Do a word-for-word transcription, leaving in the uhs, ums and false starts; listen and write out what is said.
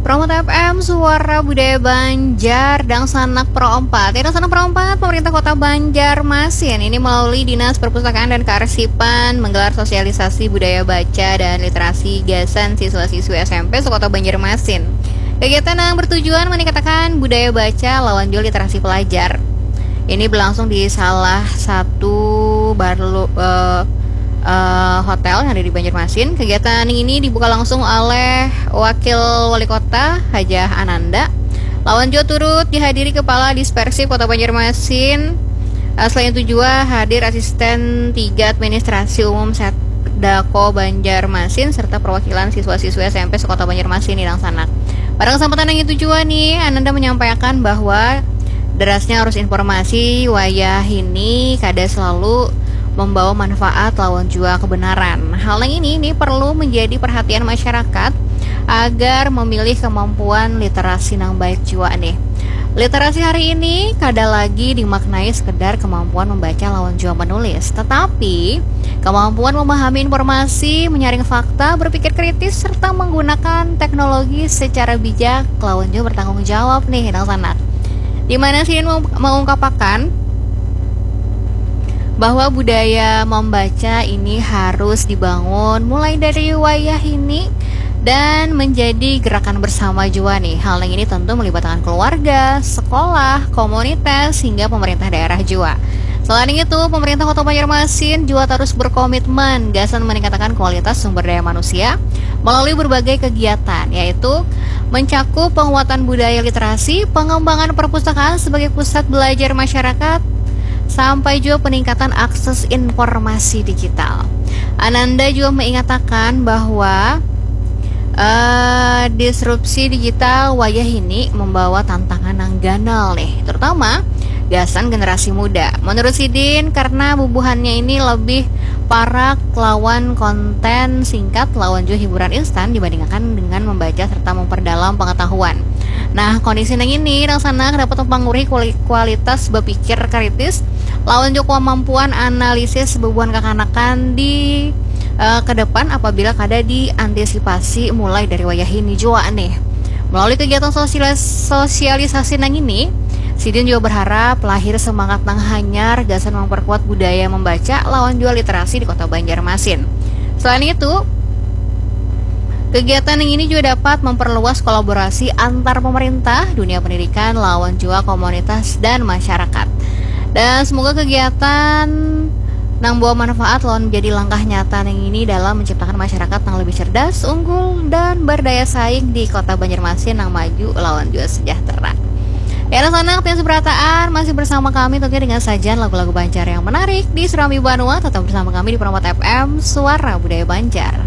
Promote F M, Suara Budaya Banjar, Dangsanak Pro empat. Ya, Dangsanak Pro empat, pemerintah kota Banjarmasin ini melalui Dinas Perpustakaan dan Kearsipan menggelar sosialisasi budaya baca dan literasi gasan siswa-siswi S M P sekota Banjarmasin. Kegiatan yang bertujuan meningkatkan budaya baca lawan jua literasi pelajar. Ini berlangsung di salah satu barlo, eh, eh, hotel yang ada di Banjarmasin. Kegiatan ini dibuka langsung oleh Wakil Wali Kota Hajah Ananda. Lawan jua turut dihadiri Kepala Dispersif Kota Banjarmasin. Eh, selain itu jua hadir Asisten tiga Administrasi Umum Setdako Banjarmasin serta perwakilan siswa-siswi S M P sekota Banjarmasin di Dangsanak. Pada kesempatan yang itu jua nih, Ananda menyampaikan bahwa derasnya arus informasi wayah ini kada selalu membawa manfaat lawan jua kebenaran. Hal yang ini, ini perlu menjadi perhatian masyarakat agar memilih kemampuan literasi nang baik jua nih. Literasi hari ini kada lagi dimaknai sekedar kemampuan membaca lawan jua menulis, tetapi kemampuan memahami informasi, menyaring fakta, berpikir kritis, serta menggunakan teknologi secara bijak lawan jua bertanggung jawab nih, Dangsanak. Di mana sidin meng-, mengungkapakan bahwa budaya membaca ini harus dibangun mulai dari wayah ini dan menjadi gerakan bersama jua nih. Hal yang ini tentu melibatkan keluarga, sekolah, komunitas, hingga pemerintah daerah jua. Selain itu, pemerintah Kota Banjarmasin jua terus berkomitmen gasan meningkatkan kualitas sumber daya manusia melalui berbagai kegiatan, yaitu mencakup penguatan budaya literasi, pengembangan perpustakaan sebagai pusat belajar masyarakat, sampai jua peningkatan akses informasi digital. Ananda jua mengatakan bahwa eh, disrupsi digital wayah ini membawa tantangan nang ganal nih, terutama gasan generasi muda. Menurut sidin, karena bubuhannya ini lebih parak lawan konten singkat lawan jua hiburan instan dibandingkan dengan membaca serta memperdalam pengetahuan. Nah, kondisi nang ini, Dangsanak, dapat mempengaruhi kuali-, kualitas berpikir kritis lawan jua kemampuan analisis bubuhan kakanakan di eh, ke depan apabila kada diantisipasi mulai dari wayah ini jua nih. Melalui kegiatan sosialis-, sosialisasi nang ini, sidin jua berharap lahir semangat nang hanyar gasan memperkuat budaya membaca lawan jua literasi di Kota Banjarmasin. Selain itu, kegiatan yang ini jua dapat memperluas kolaborasi antar pemerintah, dunia pendidikan, lawan jua komunitas dan masyarakat. Dan semoga kegiatan nang bawa manfaat lawan menjadi langkah nyata nang ini dalam menciptakan masyarakat nang lebih cerdas, unggul, dan berdaya saing di Kota Banjarmasin nang maju lawan jua sejahtera. Ya, Dangsanak, tiada seberataan, masih bersama kami tentunya dengan sajian lagu-lagu Banjar yang menarik di Serambi Banua. Tetap bersama kami di Promote F M, Suara Budaya Banjar.